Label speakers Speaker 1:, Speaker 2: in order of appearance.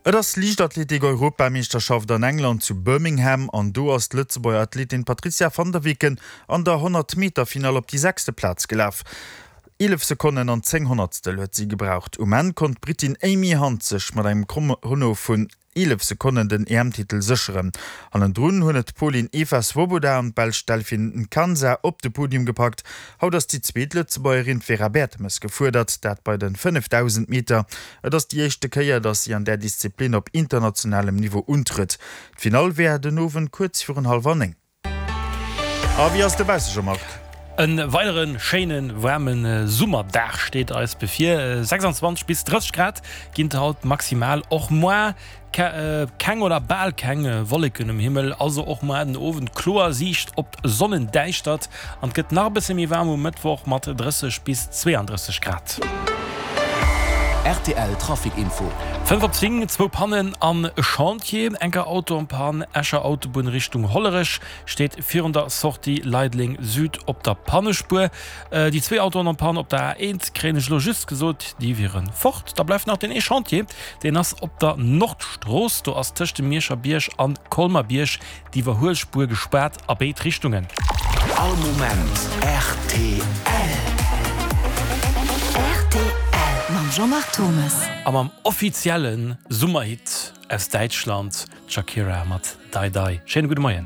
Speaker 1: Et ass Liichtathletik-Europameeschterschaft an England zu Birmingham an do ass d'Lëtzebuerger Athletin Patrizia van der Weken an der 100 Meter Finall op déi sechste Plaz gelaf. 11 Sekonnen an 10 Honnertstel huet si gebraucht. Um Enn konnt d'Brittin Amy Hunt sech mat engem Chrono vun 11 Sekonnen den EM-Titel sécheren. Hannendrun hunn et d'Polin Eva Swoboda an d'Belsch Delphine Nkansa op de Podium gepackt. Haut ass déi zweet Lëtzebuergerin, d'Vera Bertemes, gefuerdert, dat bei de 5000 Meter. Et ass déi éischte Kéier, datt si an där Disziplin op internationalem Niveau untrëtt. D'Finall wär den Owend kuerz virun hallwer 9. A wéi ass et dobausse, Jean-Marc?
Speaker 2: E weidere schéine waarme Summerdag steet eis bevir. 26 bis 30 Grad ginn et haut maximal. Och moar keng oder bal keng Wolleken um Himmel, also och moar den Owend kloer Siicht op d'Sonnendäischtert. An et gëtt nach e bësse méi waarm um Mëttwoch mat 30 bis 32 Grad.
Speaker 3: Rtl Trafic Info.
Speaker 2: 5 op 10, zwou Pannen an e Chantier, enker Auto en Panne, Escher Autobunn Richtung Hollerech steet virun der Sortie Leideleng Süd op der Pannespuer. Déi zwee Autoen en Panne op der A1 kréien ech elo just gesot, déi wiere fort. Da bleift nach deen ee Chantier, deen ass op der Nordstrooss, do ass tëscht dem Mierscher Bierg an Colmer-Bierg D'Iwwerhuelspuer gespaart a béid Richtungen.
Speaker 3: All Moment rtl.
Speaker 4: Rtl mam Jean-Marc Thomes.
Speaker 2: A mam offizielle Summerhit aus Däitschland, d'Shakira mat Dai Dai. Schéine gudde Moien.